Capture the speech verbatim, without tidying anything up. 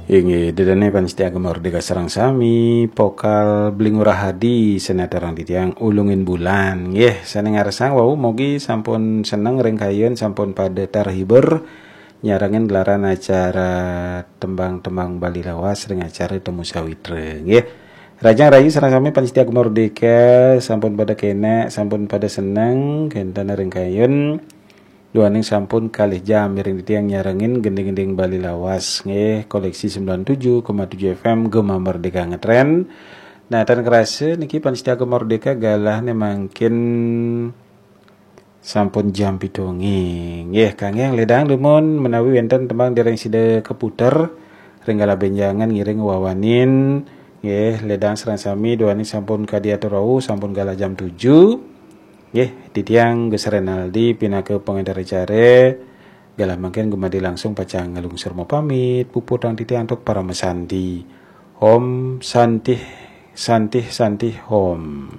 Inggih, ida dané pamiarsa Gema Merdeka sareng sami, vokal Bli Ngurah Adi, sanatarang titiang Ulungin Bulan. Nggih, sané ngarsang wau mugi sampun seneng ring kayun, sampun pada terhibur nyarengin gelaran acara tembang-tembang Bali lawas ring acara Temu Sawitra. Nggih. Rahajeng rahayu sareng sami pamiarsa Gema Merdeka, sampun pada kénak, sampun pada seneng, kénten ring kayun. Duaning sampun kalih jam mirengang titiang nyarengin gending-gending Bali lawas, nggih, koleksi sembilan tujuh koma tujuh F M Gema Merdeka ngetren. Nah, tan kerasa niki pamiarsa Gema Merdeka galahné mangkin sampun jam pitu wengi. Nggih, kangge ledang dumun menawi wénten tembang dereng sida kaputer ring galah bénjangan ngiring wawanin, nggih, ledang sareng sami duaning sampun kadi atur wau, sampun galah jam tujuh. Nggih, titiang Gus Renaldi pinaka pangénter acara. Galah mangkin Gema Merdeka langsung pacang nglungsur mapamit, puputang titiang antuk paramasanti. Om Santih, Santih, Santih, Om.